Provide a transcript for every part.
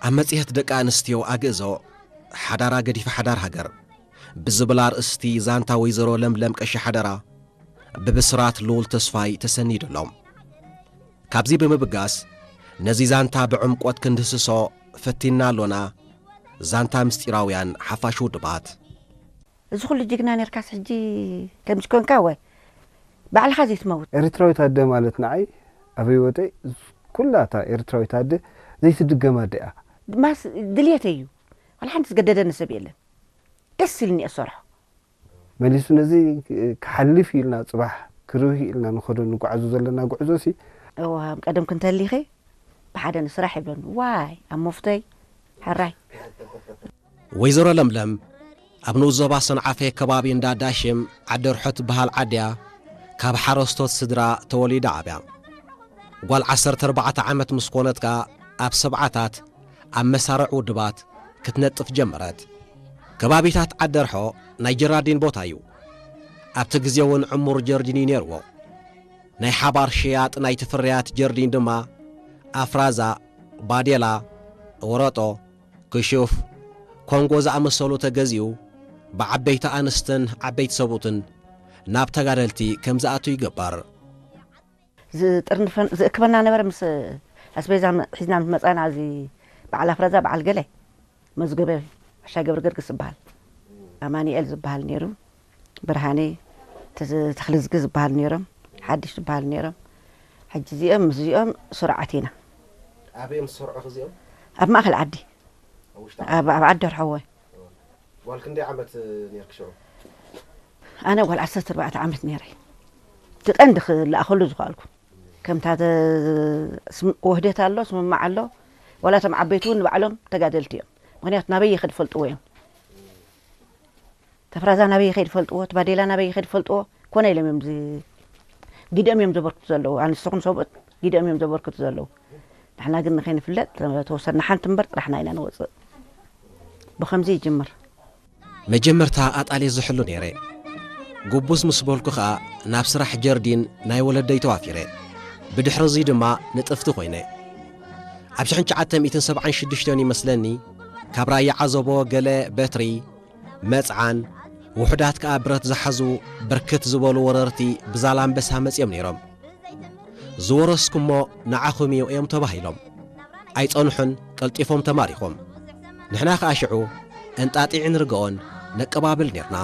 ኣብ መጽሔት ደቂ ኣንስትዮ ኣግእዞ፣ ሓዳራ ገዲፈ ሓዳር ሃገር ብዝብል ኣርእስቲ ዛንታ ወይዘሮ ለምለም ቀሺ ሓደራ ብብስራት ልኡል ተስፋይ ተሰኒዱ ኣሎ። ካብዚ ብምብጋስ፣ ነዚ ዛንታ ብዕምቆት ክንድህስሶ ፈቲና ኣሎና። ዛንታ ምስጢራውያን ሓፋሽ ውድባት። እዚ ኩሉ ጅግና ነርካስ ሕጂ ከምዚ ኮንካ ወይ ባዕልኻ ዘይትመውት? ኤርትራዊት ኣደ ማለት ንዓይ ኣብ ህይወተይ ኩላ እታ ኤርትራዊት ኣደ ዘይትድገም ኣደ እያ። ድማስ ድልየተይ እዩ። ዋላ ሓንቲ ዝገደደኒ ሰብ የለን። ደስ ኢልኒ እየ ዝሰርሖ። መሊሱ ነዚ ክሓልፍ ኢልና ጽባሕ ክርህ ኢልና ንኸዶ ንጓዓዞ ዘለና ጉዕዞ ሲ እዋ፣ ቀደም ክንተሊኸ ብሓደ ንስራሕ ይብለኒ። ዋይ፣ ኣብ መፍቶይ ሕራይ። ወይዘሮ ለምለም ኣብ ንኡስ ዞባ ሰንዓፈ ከባቢ እንዳ ዳሽም ዓዲ ርሖ ትበሃል ዓድያ ካብ ሓረስቶት ስድራ ተወሊዳ ዓብያ። ጓል ዓሰርተ ኣርባዕተ ዓመት ምስ ኮነት ከኣ ኣብ ሰብዓታት ኣብ መሳርዕ ውድባት ክትነጥፍ ጀመረት። ከባቢታት ዓዲ ርሖ ናይ ጀራዲን ቦታ እዩ። ኣብቲ ግዜ እውን ዕሙር ጀርዲን እዩ ነይርዎ። ናይ ሓባር ሸያጥ ናይቲ ፍርያት ጀርዲን ድማ ኣፍራዛ፣ ባዴላ፣ ወረጦ፣ ክሹፍ፣ ኮንጎ ዝኣመሰሉ ተገዚኡ ብዓበይቲ ኣንስትን ዓበይቲ ሰብኡትን ናብ ተጋደልቲ ከም ዝኣቱ ይግበር። ዝጥርንፈን ዝእክበና ነበረ። ምስ ኣስቤዛ ሒዝና ምስ መጻና፣ እዚ በዓል ኣፍራዛ፣ በዓል ገለ፣ መዝገበ፣ ኣሻ ገብረ ገርግስ ዝበሃል፣ ኣማኑኤል ዝበሃል ነይሩ፣ ብርሃኔ፣ ተዝ-፣ ተኽልዝጊ ዝበሃል ነይሮም፣ ሓድሽ ዝበሃል ነይሮም። ሕጂ እዚኦም ምስዚኦም ስሩዓት ኢና። ኣበይ እዮም ዝሰርዑ እዚኦም? ኣብ ማእከል ዓዲ። ኣብ ውሽጢ ዓዲ? ኣብ፣ ኣብ ዓዲ ርሐወ። ጓል ክንደይ ዓመት ኔርኪ ሽዑ? ኣነ ጓል ዓሰርተ ኣርባዕተ ዓመት ነይረ። እቲ ቀንዲ ክለኣኸሉ ዝኸኣልኩ። ከምታ ተ-፣ ስም-፣ ውህደት ኣሎ፣ ስምምዕ ኣሎ። ዋላ እቶም ዓበይቲ እውን ንባዕሎም ተጋደልቲ እዮም። ምኽንያቱ ናበይ ይኸድ ፈልጥዎ እዮም። ተፍራዛ ናበይ ይኸድ ፈልጥዎ፣ እቲ ባዴላ ናበይ ይኸድ ፈልጥዎ። ኮነ ኢሎም እዮም ዝ-፣ ጊደኦም እዮም ዘበርክቱ ዘለዉ። ኣንስትኹም ሰብኡት ጊደኦም እዮም ዘበርክቱ ዘለዉ። ንሕና ግን ንኸይንፍለጥ ተወሰድና ሓንቲ እምበር ጥራሕና ኢና ንወፅእ። ብኸምዚ ይጅምር። መጀመርታ ኣጣልየ ዝሕሉ ነይረ። ጉቡዝ ምስ በልኩ ኸኣ ናብ ስራሕ ጀርዲን ናይ ወለደይ ተዋፊረ። ብድሕሪ እዚ ድማ ንጥፍቲ ኮይነ። ኣብ ሽሕን ትሽዓተ ሚእትን ሰብዓን ሽዱሽተን ይመስለኒ፣ ካብ ራያ ዓዘቦ ገለ በትሪ፣ መጽዓን፣ ውሑዳት ከኣ ብረት ዝሓዙ ብርክት ዝበሉ ወረርቲ ብዛላምበሳ መጺኦም ነይሮም። ዝወረስኩሞ ንዓኹም እዩ እዮም ተባሂሎም። ኣይጸንሑን፣ ቀልጢፎም ተማሪኾም። ንሕና ከኣ ሽዑ እንጣጢዕን ርግኦን ነቀባብል ኔርና።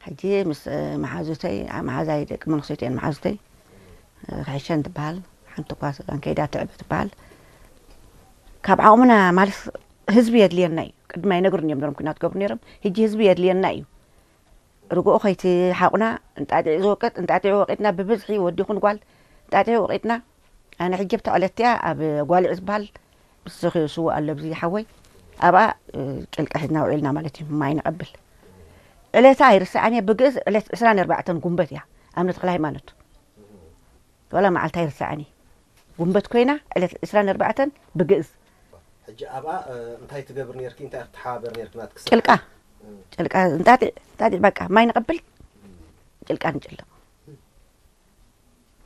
ሕጂ ምስ፣ እ፣ መሓዙተይ፣ ኣ፣ መሓዛይ ደቂ መነኩሰይት እየን መሓዙተይ፣ እ፣ ክሕሸን ትበሃል፣ ሓንቲ እኳ ስጋን ከይዳ ትዕበ ትበሃል። ካብ ዓቕምና ማለት ህዝቢ የድልየና እዩ። ቅድሚ ኣይነግሩን እዮም ነሮም ኲናት ገብሩ ነይሮም። ሕጂ ህዝቢ የድልየና እዩ። ርግኦ ከይትሓቑና እንጣጢዕ ዝወቅጥ፣ እንጣጢዕ ወቂጥና ብብዝሒ ወዲ ይኹን ጓል እንጣጢዕ ወቂጥና። ኣነ ሕጂ ኣብታ ዕለት እቲኣ ኣብ ጓልዕ ዝበሃል ምስ ስውእ ኣሎ ኣብዚ ሓወይ፣ ኣብኣ፣ እ፣ ጭልቃ ሒዝና ውዒልና ማለት እዩ። ማይ ነቐብል። ዕለታ ኣይርስዓን እየ፣ ብግእዝ ዕለት ዕስራን ኣርባዕተን ጉንበት እያ፣ ኣምነ ተኽለ ሃይማኖት። ዋላ መዓልታ ኣይርስዓን እየ። ጉንበት ኮይና ዕለት ዕስራን ኣርባዕተን ብግእዝ። ሕጂ ኣብኣ፣ እ፣ እንታይ ትገብር ነርኪ? እንታይ ክትሓባበር ነርኪ ናትኪ ስራሕ? ጭልቃ። እ። ጭልቃ እንጣጢዕ፣ እንጣጢዕ በቃ ማይ ነቐብል፣ ጭልቃ ንጭልቕ።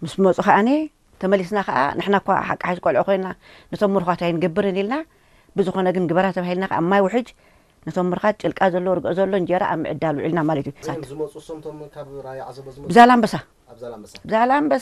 ምስ መጹ ከኣኒ ተመሊስና ከኣ ንሕና እኳ ሓቂ ሓቂ ቆልዑ ኮይና ነቶም ምሩኻት ኣይንገብርን ኢልና፣ ብዝኾነ ግን ግበራ ተባሂልና ከኣ ማይ ውሕጅ ነቶም ምሩኻት ጭልቃ ዘሎ፣ ርግኦ ዘሎ እንጀራ ኣብ ምዕዳል ውዒልና ማለት እዩ። መን እዮም ዝመጹ? እሶም እቶም ካብ ራያ ዓዘቦ ዝመጹ? ብዛላምበሳ። ኣብ ዛላምበሳ? ብዛላምበሳ